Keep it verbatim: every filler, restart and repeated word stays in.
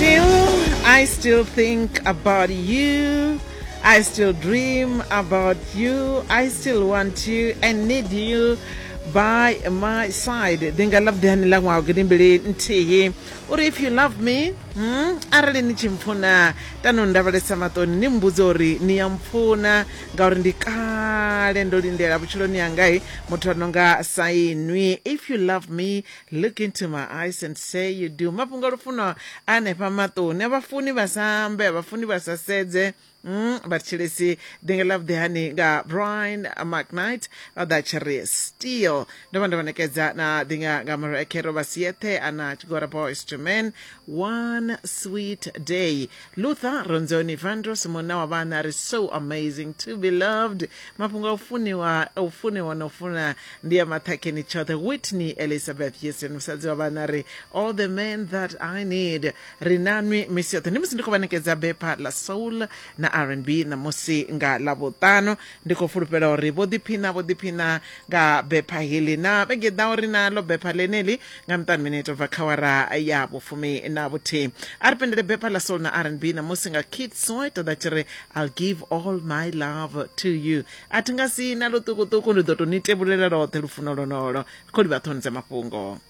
Still, I still think about you. I still dream about you. I still want you and need you by my side. Ndi nga love hani ḽa ṅwaha gidimbili nthihi uri if you love me, hmm, arali ni tshi mpfuna, tano ndavhelesa maṱoni ni mbudze uri ni ya mpfuna, ngauri ndi kale ndo lindela vhutshiloni hangai muthu a no nga sa inwi. If you love me, look into my eyes and say you do. Mafhungo a lufuno anefha maṱoni a vhafuni vha sa ambe, a vhafuni vha sa sedze. Mm, vhathetshelesi, ḓinga ḽa vhuḓi hani nga Brian McKnight vha ḓa tshi ri "Still". Ndo vha ndo vha nekedza na ḓinga nga Mariah Carey vha siethe ana tshigwada Boyz two Men, "One Sweet Day". Luther Ronzoni Vandros, munna wa vhana, ri "So amazing to be loved". Mafhungo a u funiwa, u funiwa na u funa ndi ya maṱhakheni tshoṱhe. Whitney Elizabeth Houston, musadzi wa vhana, ri "All the Men That I Need". Ri nanwi misi yoṱhe ndi musi ndi khou vha nekedza bepha ḽa soul na R and B ṋamusi nga ḽavhuṱanu. Ndi khou fulufhela uri vho ḓiphina, vho ḓiphina nga bepha heḽi. Na vhege ḓaho ri na ḽo bepha ḽeneli nga miṱanu minete ubva kha awara ya vhufumi na vhuthihi. A ri pendele bepha ḽa soul na R and B ṋamusi nga Keith Sweat ḓa tshi ri "I'll Give All My Love to You". A thi nga si na luṱukuṱuku, ndi ḓo tou ni tevhulela loṱhe lufuno lonolo. Khou livha ṱhoni dza mafhungo.